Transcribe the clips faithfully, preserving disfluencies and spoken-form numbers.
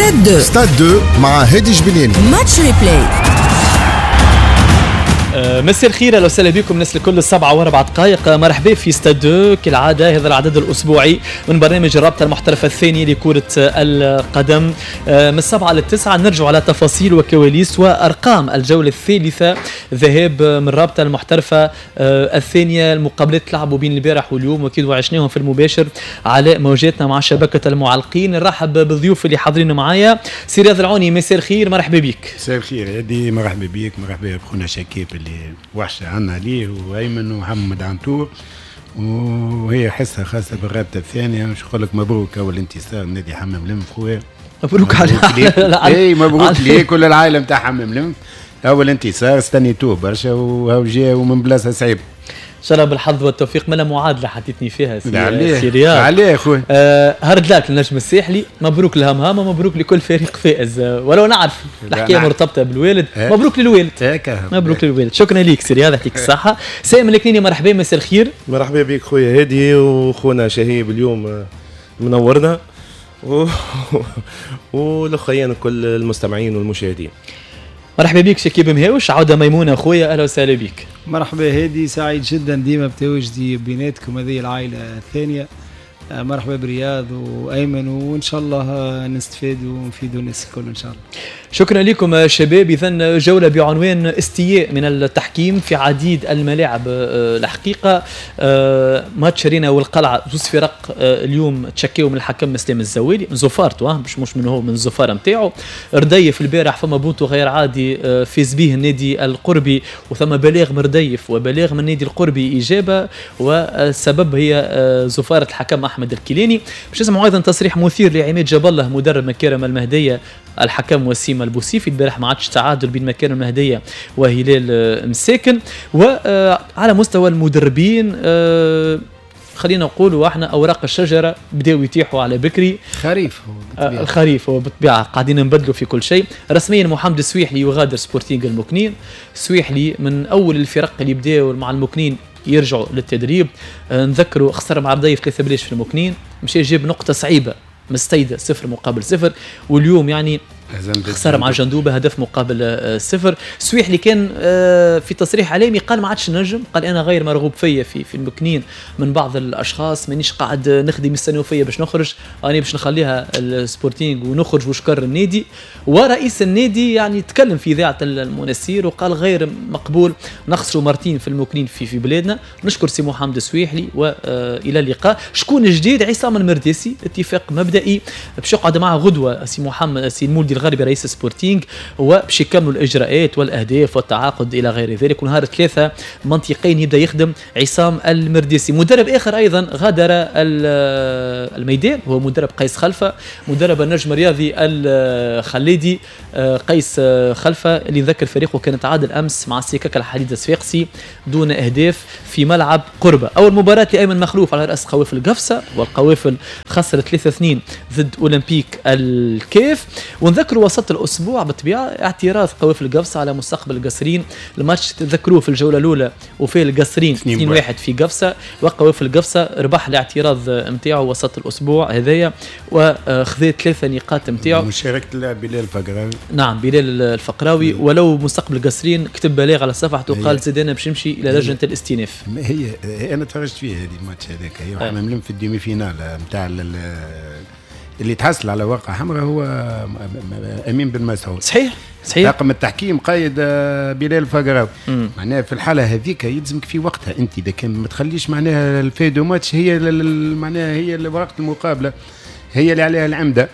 ستاد اثنين. ستاد اثنين مع هادي جبنياني. match replay. مساء الخير، اهلا وسهلا بكم الناس الكل. السبعة واربع دقائق، مرحبا في ستاد اثنين كالعادة، هذا العدد الأسبوعي من برنامج الرابطة المحترفة الثانية لكرة القدم. من السبعة للتسعة نرجع على تفاصيل وكواليس وأرقام الجولة الثالثة ذهاب من الرابطة المحترفة الثانية. المقابلات تلعبوا بين البارح واليوم وأكيد وعشناهم في المباشر على موجاتنا مع شبكة المعلقين. نرحب بالضيوف اللي حاضرين معايا. سي رياض العوني، مساء الخير، مرحبا بك. مساء الخير هادي، مرحبا بك، مرحبا بخونا شكيب اللي وحشة عنا ليه، وأيمن ومحمد عنتور، وهي حصة خاصة بالرابطة الثانية. مش نقول لك مبروك أول انتصار نادي حمام لنف خويا. مبروك على اي مبروك ليك كل العائلة نتاع حمام لنف، أول انتصار استنيتوه برشا وهو جا ومن بلاصة صعيبة. ان شاء الله بالحظ والتوفيق. ملا معادلة حطيتني فيها سي رياض. عليه خويا. آه hard luck للنجم الساحلي، مبروك لهمهام ومبروك لكل فريق فائز، ولو نعرف الحكاية مرتبطة بالوالد. مبروك للوالد، مبروك للوالد. شكرا لك سي رياض، يعطيك الصحة. سامي الكنيني، مرحبا، مساء الخير. مرحبا بك خويا هادي وخونا شهيب اليوم منورنا و... والاخوين كل المستمعين والمشاهدين. مرحبا بك شكيب مهاوش، عودة ميمونة خويا، أهلا وسهلا بك. مرحبا هادي، سعيد جدا ديما بتواجدي بيناتكم هذه العائلة الثانية. مرحبا برياض وأيمن، وإن شاء الله نستفاد ونفيدوا الناس الكل إن شاء الله. شكرا لكم شباب. إذا جولة بعنوان استياء من التحكيم في عديد الملاعب. الحقيقة ماتش رينا والقلعة، زوز فرق اليوم تشكيو من الحكم اسلام الزوالي من زفارته، مش مش من هو، من الزفارة نتاعو. رديف البارح فما بونتو غير عادي فاز به النادي القربي، وثم بلاغ من رديف وبلاغ من النادي القربي إجابة، والسبب هي زفارة الحكم أحمد الكيلاني. باش نسمعوا ايضا تصريح مثير لعماد جاب الله مدرب مكارم المهدية، الحكم وسيم البوسيفي. البارح ما عادش تعادل بين مكارم المهدية وهلال مساكن. وعلى مستوى المدربين خلينا نقولوا احنا اوراق الشجرة بداوا يتيحوا على بكري. خريف هو بالطبيعة. الخريف هو بالطبيعة قاعدين نبدلوا في كل شيء. رسميا محمد السويحلي يغادر سبورتينغ المكنين. السويحلي من اول الفرق اللي بداوا مع المكنين يرجعوا للتدريب. نذكروا خسر مع رديف ثلاثة بلاش في المكنين، مشى جاب نقطة صعيبة مستيدة صفر مقابل صفر، واليوم يعني خسر مع جندوبة هدف مقابل صفر. سويحلي كان في تصريح اعلامي قال ما عادش نجم، قال انا غير مرغوب فيا في في المكنين من بعض الاشخاص، مانيش قاعد نخدم يستناو فيا باش نخرج، انا باش نخليها السبورتينغ ونخرج وشكر النادي. ورئيس النادي يعني تكلم في اذاعة المنسير وقال غير مقبول نخسروا مرتين في المكنين في في بلادنا. نشكر سي محمد السويحلي والى اللقاء. شكون الجديد؟ عصام المرداسي، اتفاق مبدئي باش يقعد معه غدوه سي محمد سي المولدي الغربي رئيس سبورتينغ، وباش يكملوا الاجراءات والاهداف والتعاقد الى غير ذلك. ونهار ثلاثة منطقيا يبدا يخدم عصام المرداسي. مدرب اخر ايضا غادر الميدان هو مدرب قيس خلفه، مدرب النجم الرياضي الخليدي قيس خلفه، اللي ذكر فريقه كان تعادل امس مع سكك الحديد الصفاقسي دون اهداف في ملعب قربه. اول مباراة لايمن مخلوف على راس قوافل قفصه، والقوافل خسرت ثلاثة اثنين ضد اولمبيك الكاف. ونذكر وسط الاسبوع بالطبيعة اعتراض قوافل قفصه على مستقبل القصرين، الماتش تذكروه في الجولة الاولى وفيه القصرين اثنين واحد في قفصه، وقوافل قفصه ربح الاعتراض نتاعو وسط الاسبوع هذايا وخذا ثلاثة نقاط نتاعو. مشاركة اللاعب بلال الفقراوي. نعم بلال الفقراوي. ولو مستقبل القصرين كتب بلاغ على صفحته قال زيد انا باش نمشي الى لجنة الاستئناف. هي انا تفرجت فيه هذه الماتش هذاك، هي حمام في ال demi-finale نتاع اللي تحصل على ورقة حمراء هو امين بن مسعود. صحيح صحيح. طاقم التحكيم قيد بلال الفقراوي. معناها في الحالة هذيك يلزمك في وقتها انت، اذا كان ما تخليش معناها ال feuille de match هي معناها هي ورقة المقابلة هي اللي عليها العمدة.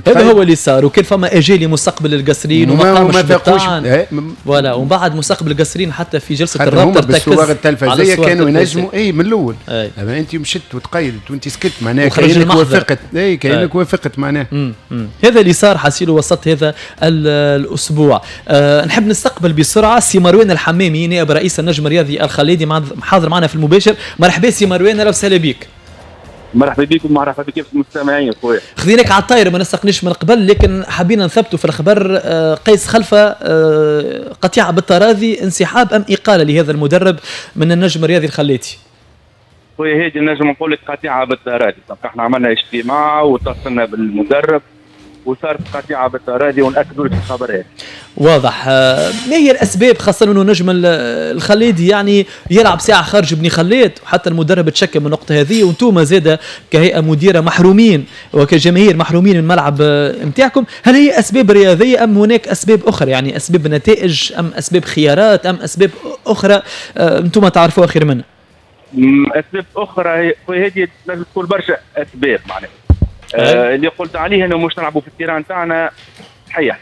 هذا هو اللي صار. وكان فما اجالي مستقبل القصرين وما قامش بالطعن voilà. ومن بعد مستقبل القصرين حتى في جلسه الرابطة بالصور التلفزيه كانوا ينجموا اي من الاول. اما انت مشت وتقيدت وانت سكت معناها كانك وافقت، اي كانك وافقت معناها. هذا اللي صار حسيله وسط هذا الاسبوع. أه نحب نستقبل بسرعة سي مروان الحمامي نائب رئيس النجم الرياضي الخليدي حاضر معنا في المباشر. مرحبا سي مروان، اهلا وسهلا بك. مرحبا بكم، مرحبا بكم المستمعين خويا. خذيناك على الطايره ما نستقنيش من قبل، لكن حبينا نثبتوا في الخبر. قيس خلفه قطيعة بالتراضي، انسحاب ام اقاله لهذا المدرب من النجم الرياضي الخليتي؟ خويا هادي نجم نقول لك قطيعة بالتراضي. احنا عملنا اجتماع واتصلنا بالمدرب وصارت قطيعة بالتراضي وناكدوا لك الخبر هذا. واضح. ما هي الاسباب خاصة انه نجم الخليدي يعني يلعب ساعة خارج بني خلاد، وحتى المدرب تشكى من النقطة هذه، وانتم زاده كهيئة مديره محرومين وكجماهير محرومين من الملعب نتاعكم، هل هي اسباب رياضية ام هناك اسباب اخرى؟ يعني اسباب نتائج ام اسباب خيارات ام اسباب اخرى انتم تعرفوها خير منا؟ اسباب اخرى هذه لازم تكون برشا اسباب معناها. آه اللي قلت عليه انه مش نلعبوا في ال terrain تاعنا صحيح،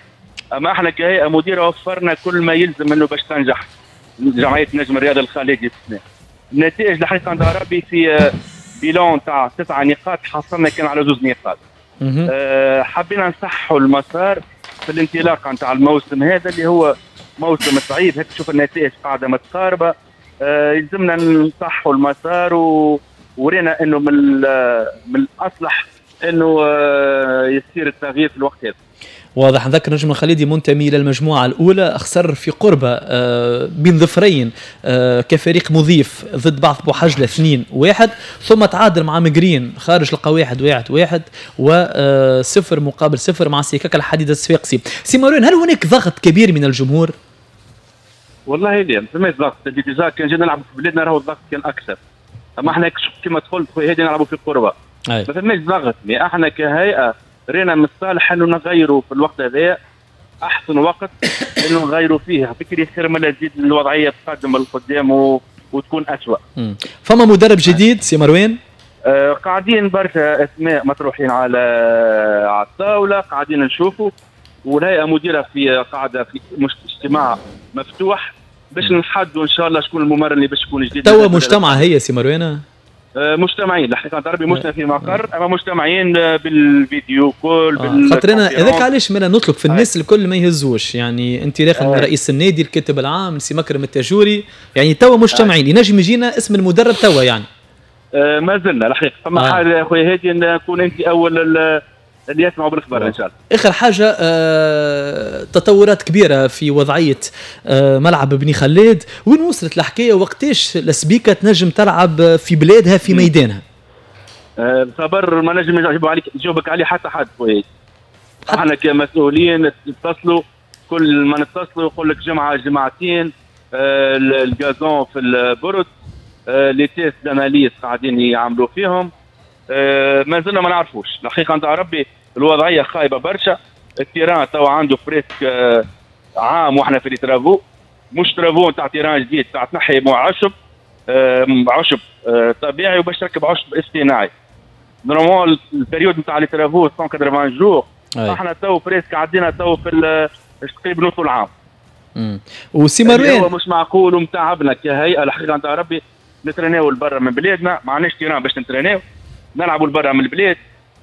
اما احنا كهيئة مديره وفرنا كل ما يلزم انه باش تنجح جمعية نجم الرياضي الخليدي السنة. النتائج الحقيقة عند ربي في bilan تاع تسعة نقاط حصلنا كان على زوج نقاط. آه حبينا نصححوا المسار في الانطلاقة نتاع الموسم هذا اللي هو موسم صعيب، هيك تشوف النتائج قاعدة متقاربة. آه يلزمنا نصححوا المسار و... ورينا انه من من الاصلح انه يصير التغيير في الوقت هذا. واضح. نذكر نجم الخليدي منتمي الى المجموعة الاولى، خسر في قربه بين ظفرين كفريق مضيف ضد بعث بوحجله اثنين واحد، ثم تعادل مع مقرين خارج القواعد واحد واحد، وصفر مقابل صفر مع سيكاكا الحديد الصفاقسي. سي مروان، هل هناك ضغط كبير من الجمهور؟ والله لا، ما فماش ضغط، déjà كان جينا نلعبوا في بلادنا راهو الضغط كان اكثر. اما احنا كما قلت خويا هادي نلعبوا في قربه. ما فماش ضغط، mais احنا كهيئة رينا من الصالح انه نغيروا في الوقت هذا، احسن وقت انه نغيروا فيه، فكري خير ما تزيد الوضعية تقدم للقدام و... وتكون اسوء. فما مدرب جديد سي مروان؟ آه قاعدين برشا اسماء مطروحين على على الطاولة، قاعدين نشوفوا، والهيئة مديره في قاعدة في مش اجتماع مفتوح باش نحدوا ان شاء الله شكون الممرن اللي باش يكون جديد. توا مجتمع هي سي مروان؟ مجتمعين الحقيقة ربي مش في مقر، اما مجتمعين بال vidéo call. آه. خاطر انا هذاك علاش مالا نطلب في الناس الكل ما يهزوش، يعني انطلاقا من رئيس النادي، الكاتب العام، سي مكرم التاجوري، يعني توا مجتمعين، ينجم يجينا اسم المدرب توا يعني. آه ما زلنا الحقيقة فما آه. حاجة يا خويا هادي نكون انت اول اللي يسمعوا بالخبر ان شاء الله. اخر حاجة آه، تطورات كبيرة في وضعية آه، ملعب بني خلاد، وين وصلت الحكاية؟ وقتاش السبيكه تنجم تلعب في بلادها في ميدانها؟ آه، الخبر ما نجم يجاوب عليك يجاوبك عليه حتى حد خويا. احنا كمسؤولين نتصلوا، كل ما نتصلوا يقول لك جمعه جمعتين، آه، ال gazon في البرد، آه، les tests d'analyse قاعدين يعملوا فيهم، آه، ما زلنا ما نعرفوش الحقيقة نتاع ربي. الوضعية خايبة برشا، ال terrain توا عنده presque عام واحنا في les travaux، مش travaux نتاع terrain جديد، تاع تنحي مع عشب عشب طبيعي وباش تركب عشب اصطناعي. normalement ال période نتاع les travaux مية وثمانين jours، احنا تو presque عدينا تو في تقريبا نص العام. امم وسي مروان هو مش معقول ومتعبنا كهيئة الحقيقة نتاع ربي. نتريناو لبرا من بلادنا، ما عندناش terrain باش نتريناو، نلعبوا لبرا من البلاد،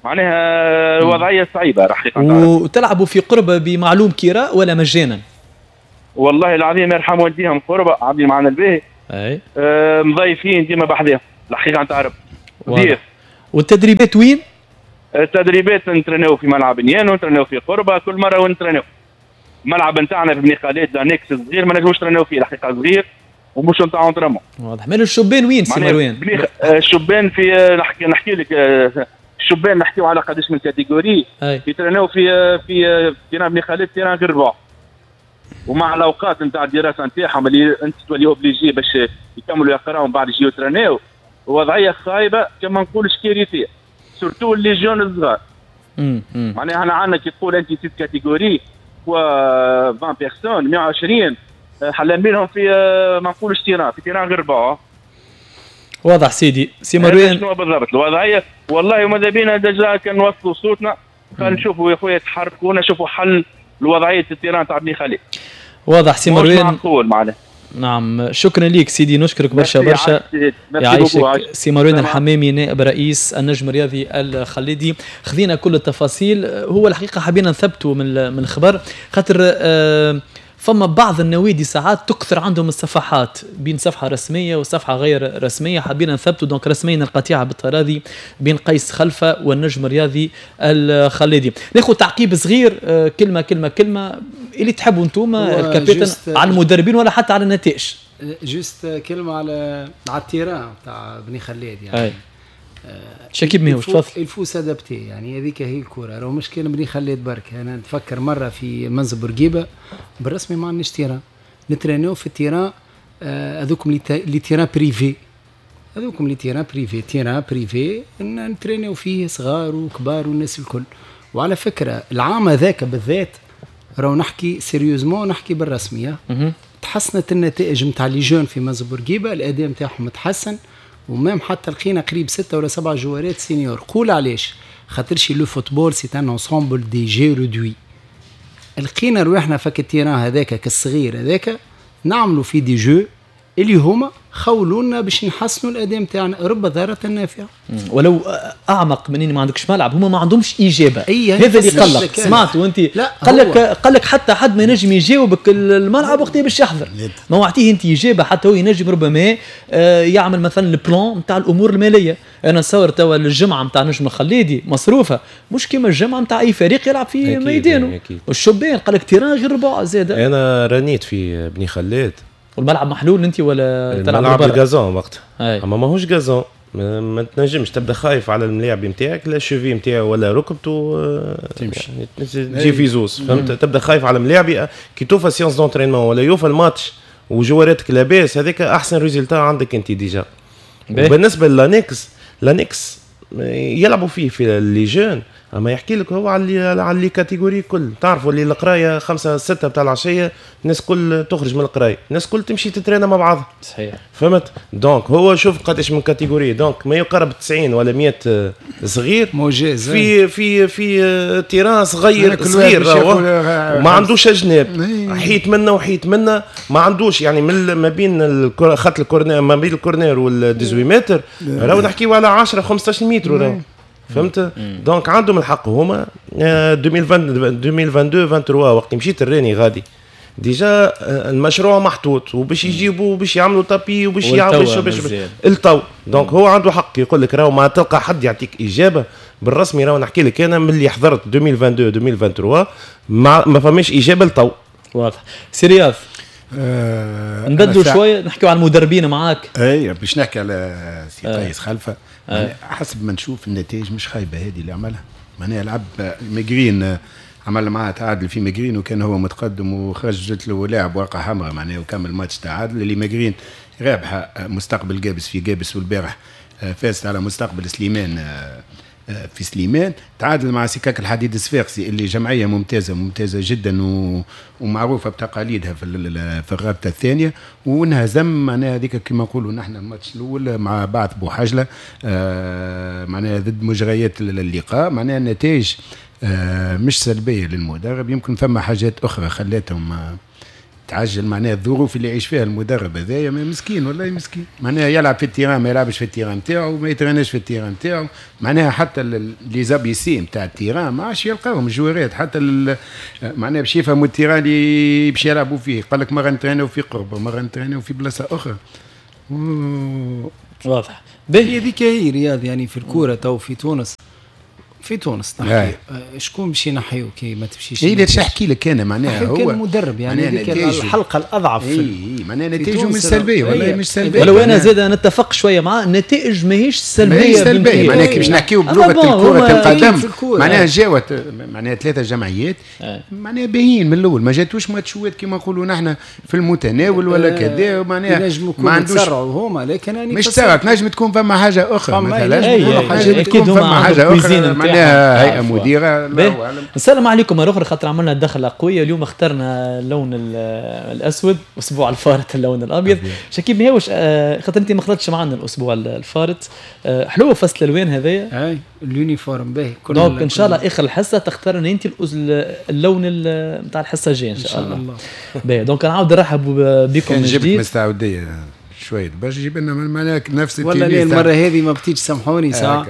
معناها الوضعية صعيبة الحقيقة. وتلعبوا في قربه بمعلوم كراء ولا مجانا؟ والله العظيم يرحم والديهم، قربه عاملين معنا الباهي. اي آه مضيفين ديما بحذاهم الحقيقة نتاع ربي. ضيف. والتدريبات وين؟ التدريبات نتريناو في ملعب نيانو، نتريناو في قربه، كل مرة ونتريناو. الملعب نتاعنا في بني خالد annexe صغير ما نجموش نتريناو فيه الحقيقة، صغير ومش نتاع entraînement. واضح. مال الشبان وين سي مروان؟ الشبان في نحكي نحكي لك الشبان نحكيو على قداش من catégorie يترناو في في terrain بني خالد، terrain غير ربع، ومع الاوقات نتاع الدراسة نتاعهم اللي انت تولي obligé باش يكملوا يقراو ومن بعد يجيو يترناو، وضعية خايبة كما نقولش كارثية، surtout les jeunes الصغار. معناها احنا عندنا كي تقول انت six catégories و عشرين personnes مية وعشرين حلمينهم في ما نقولش terrain، في terrain غير ربع. واضح سيدي سي مروان شنو بالضبط الوضعية. والله وماذا بينا déjà كان نوصلوا صوتنا، خلينا نشوفوا يا خويا تحركونا، شوفوا حل لوضعيه ال terrain تاع بني خليل. واضح سي مروان، معقول معناها. نعم شكرا لك سيدي، نشكرك برشا برشا. يعيشك سي مروان الحمامي نائب رئيس النجم الرياضي الخليدي. خذينا كل التفاصيل، هو الحقيقة حبينا نثبتوا من من الخبر خاطر آه فما بعض النوادي ساعات تكثر عندهم الصفحات بين صفحة رسمية وصفحه غير رسمية، حبينا نثبتوا donc رسميا القطيعة بالتراضي بين قيس خلفه والنجم الرياضي الخليدي. ناخذ تعقيب صغير، كلمة كلمة كلمة اللي تحبوا انتم الكابتن على المدربين ولا حتى على النتائج. juste كلمة على على ال terrain تاع بني خلاد يعني. أي. شكيب ماهوش تفضل. il faut s'adapter، يعني هذيك هي الكره، راهو مش كان بني خليت برك. انا نتفكر مرة في منزل بورقيبة بالرسمي ما عندناش terrain، نترينيو في ال terrain هذوكم les terrains privés، هذوكم les terrains privés، terrain privé نترينيو فيه صغار وكبار والناس الكل. وعلى فكرة العام هذاك بالذات راهو نحكي sérieusement، نحكي بالرسميه، تحسنت النتائج نتاع les jeunes في منزل بورقيبة، الاداء نتاعهم تحسن، و même حتى لقينا قريب ستة ولا سبعة جوارات seniors. قول علاش؟ خاطرش le football c'est un ensemble des jeux réduits. لقينا رواحنا فك ال terrain هذاك كالصغير هذاك نعملوا فيه des jeux اللي هما خولونا باش نحسنوا الاداء نتاعنا، رب ضارة نافعة. ولو اعمق من اني ما عندكش ملعب، هما ما عندهمش اجابه. أيه هذا اللي قلق، سمعت وانت قال لك قال لك حتى حد ما ينجم يجاوبك الملعب وقت باش يحضر، ما وعطية انت اجابه حتى هو ينجم ربما يعمل مثلا ال plan نتاع الامور المالية. انا نتصور توا الجمعة نتاع نجم الخليدي مصروفه مش كيما الجمعة نتاع اي فريق يلعب في ميدانه. والشبان قال لك terrain غير ربع زاد. انا رنيت في بني خلاد والملعب محلول انت ولا تلعب الملعب ال gazon وقتها، اما ماهوش gazon، ما, ما تنجمش تبدا خايف على الملاعب نتاعك، لا cheville نتاعو ولا ركبته تمشي يعني تجي في زوز، فهمت؟ تبدا خايف على الملاعب كي توفى séance d'entraînement ولا يوفى الماتش وجواراتك لاباس، هذاك احسن résultat عندك انت déjà. وبالنسبة ل l'annexe، l'annexe يلعبوا فيه في les jeunes، اما يحكي لك هو على على les catégories كل. تعرفوا اللي القراية خمسة ستة بتاع العشية الناس كل تخرج من القراية، الناس كل تمشي تترينا مع بعضها. صحيح. فهمت؟ donc هو شوف قداش من catégorie، donc ما يقارب تسعين ولا مية صغير موجز في في في terrain صغير صغير، وما عندوش اجناب، حيت منا وحيت منا، ما عندوش يعني من ما بين خط ال corner، ما بين ال corner وال ثمنطاش متر، راهو نحكيو على عشرة خمسطاش متر راهو. فهمت؟ donc عندهم الحق هما. ألفين واثنين وعشرين ثلاثة وعشرين وقت مشيت الراني غادي déjà المشروع محطوط وباش يجيبوا وباش يعملوا tapis وباش يعملوا باش التو. donc هو عنده حق يقول لك راهو ما تلقى حد يعطيك اجابه بالرسمي. راهو نحكي لك انا من اللي حضرت ألفين واثنين وعشرين ألفين وثلاثة وعشرين ما, ما فماش اجابه لتو. واضح. سي رياض أه نبدلوا شوية نحكيو على المدربين معاك. اي باش نحكي على سي قيس خلفه. أه. حسب ما نشوف النتائج مش خايبة هذه اللي عملها، معناها لعب مجرين، عمل معاه تعادل في مجرين وكان هو متقدم وخرجت له لاعب ورقة حمراء معناها وكمل ماتش تعادل. اللي مجرين رابحه مستقبل جابس في جابس، والبارح فازت على مستقبل سليمان في سليمان، تعادل مع سكاك الحديد الصفاقسي اللي جمعية ممتازة ممتازة جدا ومعروفة بتقاليدها في في الرابطة الثانية، وانهزم معناها هذيك كما نقولوا نحن الماتش الاول مع بعث بوحجله آه معناها ضد مجريات اللقاء. معناها النتائج آه مش سلبية للمدرب، يمكن فما حاجات اخرى خلاتهم آه تعجل معناها الظروف اللي يعيش فيها المدرب هذايا مسكين والله مسكين، معناها يلعب في ال terrain ما يلعبش في ال terrain نتاعو، ما يتريناش في ال terrain نتاعو، معناها حتى les ABC نتاع ال terrain ما عادش يلقاهم الجوارات، حتى معناها باش يفهموا ال terrain اللي باش يلعبوا فيه، قال لك مرة نتريناو في قربه مرة نتريناو في بلاصة اخرى. واضح. هي هذيك هي رياض يعني في الكورة تو في تونس، في تونس نحكي شكون باش ينحيو كي ما تمشيش؟ اي باش نحكي لك انا معناها هو كان مدرب يعني هذيك الحلقة الاضعف. اي اي معناها نتائجه مش سلبية والله مش سلبية. ولو انا زاد نتفق شوية معاه، النتائج ماهيش سلبية، ماهيش سلبية معناها كي باش نحكيو بلغه الكره القدم معناها جاوت معناها ثلاثة جمعيات معناها باهيين من الاول، ما جاتوش ماتشوات كيما نقولوا نحن في المتناول ولا كذا، معناها ما عندوش تسرعوا هما، لكن مش تسرع، تنجم تكون فما حاجة اخرى مثلا، تكون فما حاجة اخرى معناها هيئة مديره. الله اعلم. السلام عليكم مرة اخرى، خاطر عملنا دخله قوية اليوم، اخترنا اللون الاسود، اسبوع الفارط اللون الابيض. شكيب ماهوش خاطر انت ما خلطتش معنا الاسبوع الفارط، حلوة فصل الالوان هذايا. اي ال uniforme باهي. donc ان شاء الله اخر الحصة تختار انت اللون نتاع الحصة الجاية ان شاء الله. باهي donc نعاود نرحب بكم من جديد. جبت من السعودية شوية باش يجيب لنا معناها نفس والله ليه المرة هذه ما بتيجي، سامحوني ساعة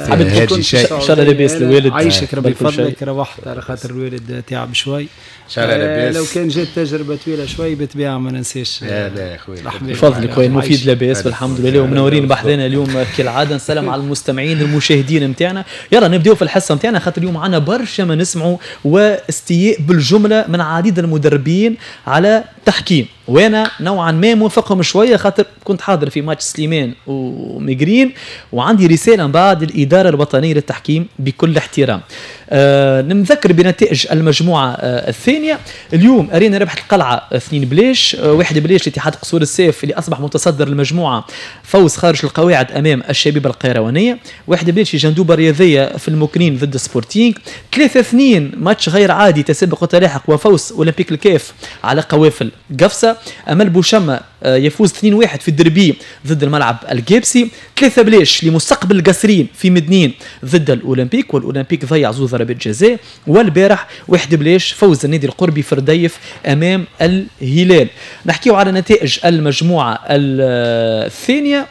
حبيت ان شاء الله لاباس الوالد. عايشك ربي يفضلك، روحت على خاطر الوالد تعب شوي، ان شاء الله لاباس. لو كان جات تجربه طويلة شوي بالطبيعة ما ننساش. لا لا يا خويا بفضلك خويا المفيد لاباس والحمد لله، ومنورين بحذانا اليوم كالعادة. نسلم على المستمعين المشاهدين نتاعنا. يلا نبداو في الحصة نتاعنا خاطر اليوم عندنا برشا ما نسمعوا واستياء بالجملة من عديد المدربين على التحكيم، وانا نوعا ما موافقهم شوية خاطر كنت حاضر في ماتش سليمان وميغرين، وعندي رسالة من بعد الادارة الوطنية للتحكيم بكل احترام. آه نذكر بنتائج المجموعة آه الثانية. اليوم ارينا ربحت القلعة اثنين بلاش، آه واحد بلاش لاتحاد قصور السيف اللي اصبح متصدر المجموعة، فوز خارج القواعد امام الشبيبة القيروانيه، واحد بلاش جندوبه الرياضية في المكنين ضد سبورتينغ، ثلاثة اثنين ماتش غير عادي تسابق وتلاحق وفوز اولمبيك الكاف على قوافل قفصه. امل بوشمه يفوز اثنين واحد في الدربي ضد الملعب الجابسي، ثلاثة بلاش لمستقبل القصرين في مدنين ضد الاولمبيك، والاولمبيك ضيع زوج ضربات جزاء. والبارح واحد بلاش فوز النادي القربي في رديف امام الهلال. نحكيو على نتائج المجموعة الثانية.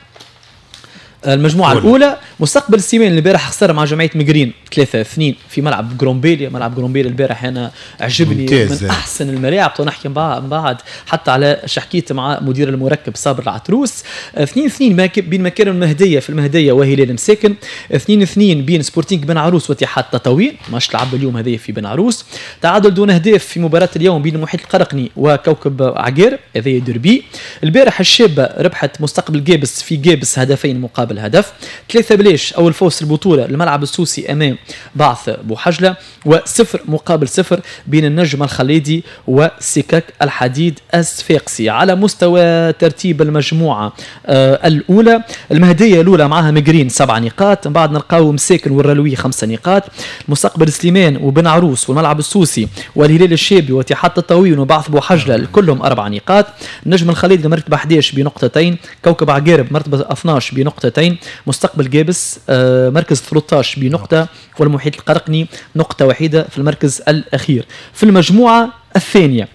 المجموعة الأولى مستقبل سليمان البارح خسر مع جمعية مقرين ثلاثة اثنين في ملعب جرومبيليا. ملعب جرومبيليا البارح أنا عجبني ممتاز. من أحسن الملاعب، نحكي من بعد حتى على شحكيت مع مدير المركب صابر العتروس. اثنين اثنين بين مكارم المهدية في المهدية وهلال مساكن، اثنين اثنين بين سبورتينغ بن عروس واتحاد تطاوين، ماتش لعب اليوم هذايا في بن عروس. تعادل دون أهداف في مباراة اليوم بين المحيط القرقني وكوكب عقارب، هذايا دربي. البارح الشابة ربحت مستقبل جابس في جابس هدفين مقابل هدف، ثلاثة بلاش أول فوز البطولة الملعب السوسي أمام بعث بوحجلة، وصفر مقابل صفر بين النجم الخليدي وسكك الحديد الصفاقسي. على مستوى ترتيب المجموعة آه الأولى، المهدية الأولى معها مقرين سبع نقاط، من بعد نلقاو مساكن والرلوي خمسة نقاط، مستقبل سليمان وبن عروس والملعب السوسي والهلال الشابي واتحاد تطاوين وبعث بوحجلة كلهم أربع نقاط، النجم الخليدي مرتبة أحد عشر بنقطتين، كوكب عقارب مرتبة اثنا عشر بنقطتين، مستقبل جابس مركز ثلاثة عشر بنقطة، والمحيط القرقني نقطة وحيدة في المركز الأخير. في المجموعة الثانية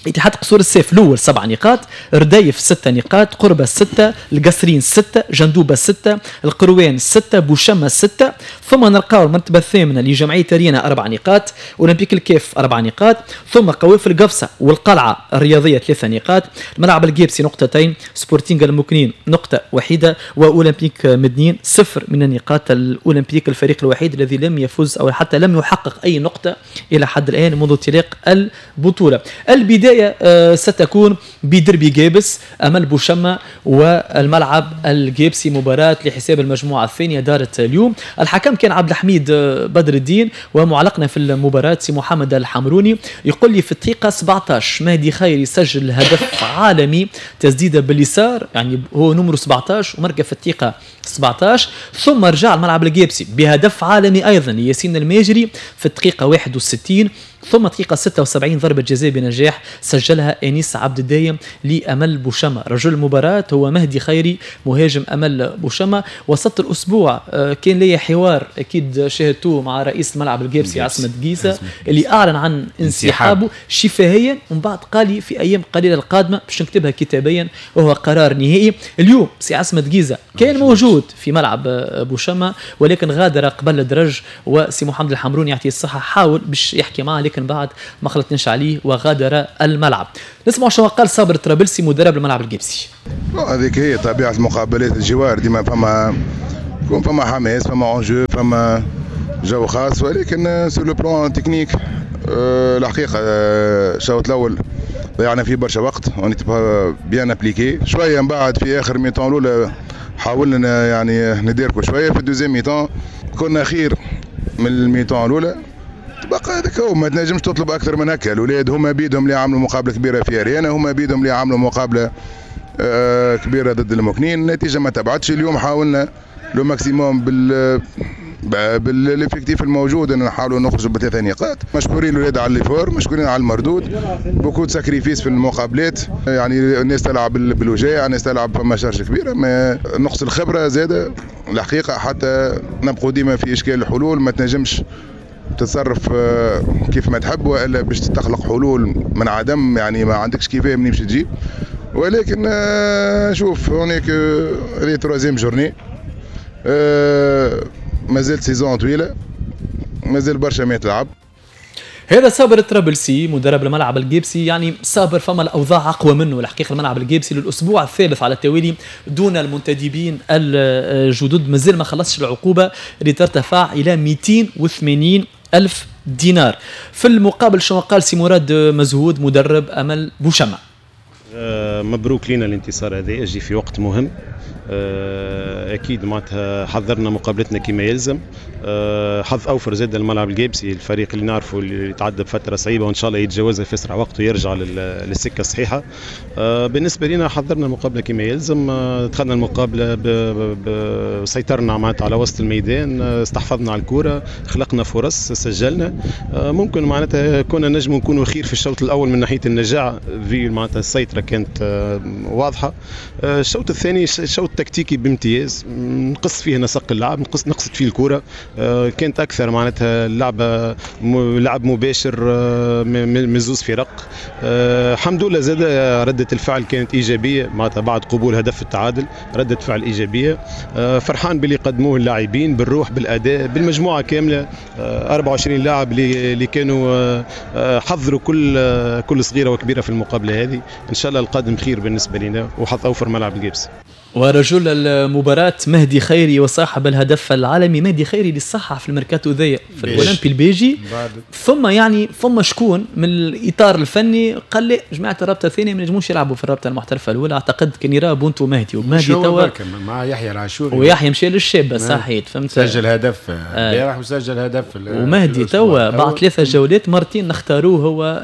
اتحاد قصور السيف الاول سبع نقاط، رديف ستة نقاط، قربة ستة، القصرين ستة، جندوبة ستة، القروان ستة، بوشمة ستة. ثم نلقاو المرتبة الثامنة لجمعية رينا أربع نقاط، أولمبيك الكاف أربع نقاط، ثم قوافل قفصة والقلعة الرياضية ثلاثة نقاط، الملعب الجابسي نقطتين، سبورتينغ المكنين نقطة وحيدة، وأولمبيك مدنين صفر من النقاط. الأولمبيك الفريق الوحيد الذي لم يفز أو حتى لم يحقق أي نقطة إلى حد الآن منذ انطلاق البطولة. البداية ستكون بدربي جابس أمل بوشمة والملعب الجابسي، مباراة لحساب المجموعة الثانية دارت اليوم. الحكم كان عبد الحميد بدر الدين، ومعلقنا في المباراة سي محمد الحمروني. يقول لي في الدقيقة سبعة عشر مهدي خيري سجل هدف عالمي، تسديدة باليسار، يعني هو نمره سبعة عشر ومركز في الدقيقة سبعة عشر. ثم رجع الملعب الجابسي بهدف عالمي أيضا لياسين الماجري في الدقيقة واحد وستين، ثم دقيقة ستة وسبعين ضربة جزاء بنجاح سجلها أنيس عبد الدايم لأمل بوشمة. رجل المباراة هو مهدي خيري مهاجم أمل بوشمة. وسط الأسبوع كان لي حوار أكيد شاهدتوه مع رئيس الملعب الجابسي عصمت جيزة اللي أعلن عن انسحابه شفاهيا، ومن بعد قال لي في أيام قليلة القادمة باش نكتبها كتابيا وهو قرار نهائي. اليوم سي عصمت جيزة كان موجود في ملعب بوشمة ولكن غادر قبل الدرج، وسي محمد الحمروني يعطيه الصحة حاول باش يحكي معه لكن بعد ما خلطناش عليه وغادر الملعب. نسمع شنو قال صابر الطرابلسي مدرب الملعب الجبسي. هذيك هي طبيعة المقابلات الجوار، ديما فما يكون فما حماس، فما enjeu، فما جو خاص، ولكن sur le plan technique الحقيقة الشوط الاول ضيعنا فيه برشا وقت، on était pas bien appliqués شوية. من بعد في اخر mi-temps الاولى حاولنا يعني نديركو شوية، في ال deuxième mi-temps كنا خير من ال mi-temps الاولى. بقى هذاك هو، ما تنجمش تطلب اكثر من هكا. الاولاد هما بيدهم اللي عملوا مقابله كبيرة في اريانا، هما بيدهم اللي عملوا مقابله آه كبيرة ضد المكنين، النتيجة ما تبعتش. اليوم حاولنا le maximum بال بال effectif الموجود ان نحاولوا نخرجوا بثلاثة نقاط. مشكورين الاولاد على l'effort، مشكورين على المردود، beaucoup de sacrifices في المقابلات، يعني الناس تلعب بالوجاع، الناس تلعب فما charge كبيرة، ما نقص الخبرة زاده الحقيقة، حتى نبقوا ديما في اشكال الحلول، ما تنجمش تتصرف كيف ما تحب والا باش تخلق حلول من عدم، يعني ما عندكش كيفاه منين باش تجيب. ولكن شوف هناك هذه troisième journée، مازال saison طويلة، مازال برشا ما يتلعب. هذا صابر الطرابلسي مدرب الملعب الجيبسي، يعني صابر فما الاوضاع اقوى منه الحقيقة. الملعب الجيبسي للاسبوع الثالث على التوالي دون المنتدبين الجدد، مازال ما خلصش العقوبة اللي ترتفع الى مئتين وثمانين ألف دينار. في المقابل شنو قال سي مراد مزهود مدرب أمل بوشمة؟ مبروك لنا الانتصار هذا، يجي في وقت مهم. اكيد معناتها حضرنا مقابلتنا كما يلزم. حظ اوفر زاد الملعب الجابسي، الفريق اللي نعرفه اللي تعدى بفترة صعيبة وان شاء الله يتجاوزها في اسرع وقت ويرجع للسكه الصحيحة. بالنسبة لنا حضرنا المقابلة كما يلزم، دخلنا المقابلة سيطرنا معناتها على وسط الميدان، استحفظنا على الكره، خلقنا فرص، سجلنا. ممكن معناتها كنا نجم نكونوا خير في الشوط الاول من ناحية النجاعه، في معناتها السيطرة كانت واضحة. الشوط الثاني شوط تكتيكي بامتياز، نقص فيه نسق اللعب، نقص نقصت فيه الكره، كانت اكثر معناتها اللعبة لعب مباشر من زوز فرق. الحمد لله زاد رده الفعل كانت ايجابية معناتها بعد قبول هدف التعادل، رده فعل ايجابية. فرحان باللي قدموه اللاعبين، بالروح، بالاداء، بالمجموعة كاملة، أربعة وعشرين لاعب اللي كانوا حضروا كل كل صغيرة وكبيره في المقابلة هذه. ان شاء الله القادم خير بالنسبة لنا وحظ اوفر ملعب الجبس. ورجل المباراة مهدي خيري وصاحب الهدف العالمي مهدي خيري اللي صحح في الميركاتو ذي في الاولمبي البيجي، ثم يعني ثم شكون من الاطار الفني قال لي جماعة الرابطة الثانية ما نجموش يلعبوا في الرابطة المحترفه الاولى. اعتقد كان يرى بونتو مهدي، ومهدي توا مع يحيى العاشوري، ويحيى مشى للشابه صحيت فهمت، سجل هدف البارح وسجل هدف ومهدي توا بعد ثلاثة جولات مرتين نختاروه هو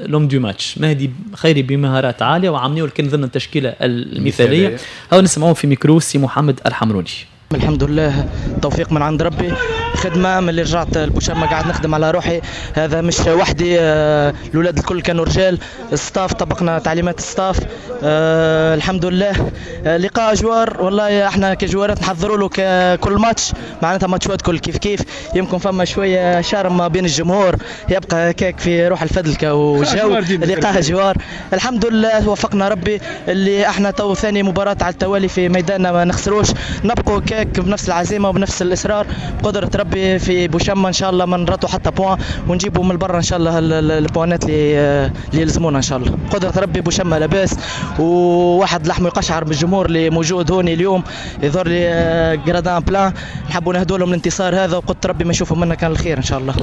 l'homme du match. مهدي خيري بمهارات عالية وعملوا كان ضمن التشكيلة المثالية. هاو نسمعوه في ميكرو سي محمد الحمروني. الحمد لله توفيق من عند ربي، خدمة من اللي رجعت البوشامه قاعد نخدم على روحي، هذا مش وحدي، الاولاد الكل كانوا رجال، ال staff طبقنا تعليمات ال staff، أه الحمد لله. لقاء جوار والله احنا كجوارات نحضروا له كل ماتش، معناتها ماتشات كل كيف كيف، يمكن فما شوية charme ما بين الجمهور، يبقى هكاك في روح الفدلكه وجو لقاء جوار. الحمد لله وفقنا ربي اللي احنا تو ثاني مباراة على التوالي في ميداننا ما نخسروش، نبقوا كاك بنفس العزيمة وبنفس الاصرار بقدره ربي في بوشامه ان شاء الله ما نراتوا حتى point ونجيبوا من برا ان شاء الله البوانات اللي اللي يلزمونا ان شاء الله بقدره ربي. بوشامه لاباس، وواحد لحمه يقشعر بالجمهور اللي موجود هوني اليوم، يظهر لي gradins pleins، نحبوا نهدوا لهم الانتصار هذا وقدره ربي ما نشوفوا منا كان الخير ان شاء الله.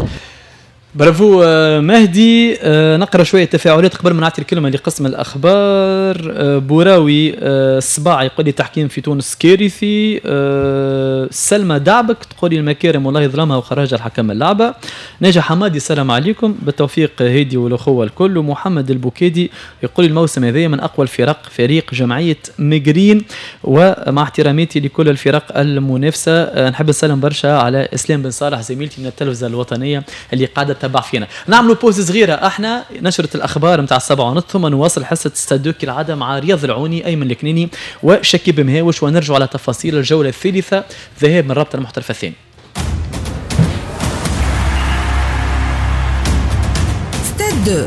برافو مهدي. نقرا شوية تفاعلات قبل ما نعطي الكلمة لقسم الاخبار. بوراوي الصباع يقول لي تحكيم في تونس كارثي. سلمى دعبك تقول لي المكارم والله ظلمها وخرجها الحكم اللعبة. ناجح حمادي السلام عليكم، بالتوفيق هادي والاخوة الكل. ومحمد البوكيدي يقول الموسم هذا من اقوى الفرق فريق جمعية مجرين، ومع احتراماتي لكل الفرق المنافسة. نحب نسلم برشا على اسلام بن صالح زميلتي من التلفزة الوطنية اللي قاعدة تبع فينا. نعملوا pause صغيرة احنا، نشره الاخبار نتاع السبعة ونص، ثم نواصل حصة ستادو كالعادة مع رياض العوني، ايمن الكنيني وشكيب مهاوش، ونرجع على تفاصيل الجولة الثالثة ذهاب من رابطه المحترفه الثاني. ستادو.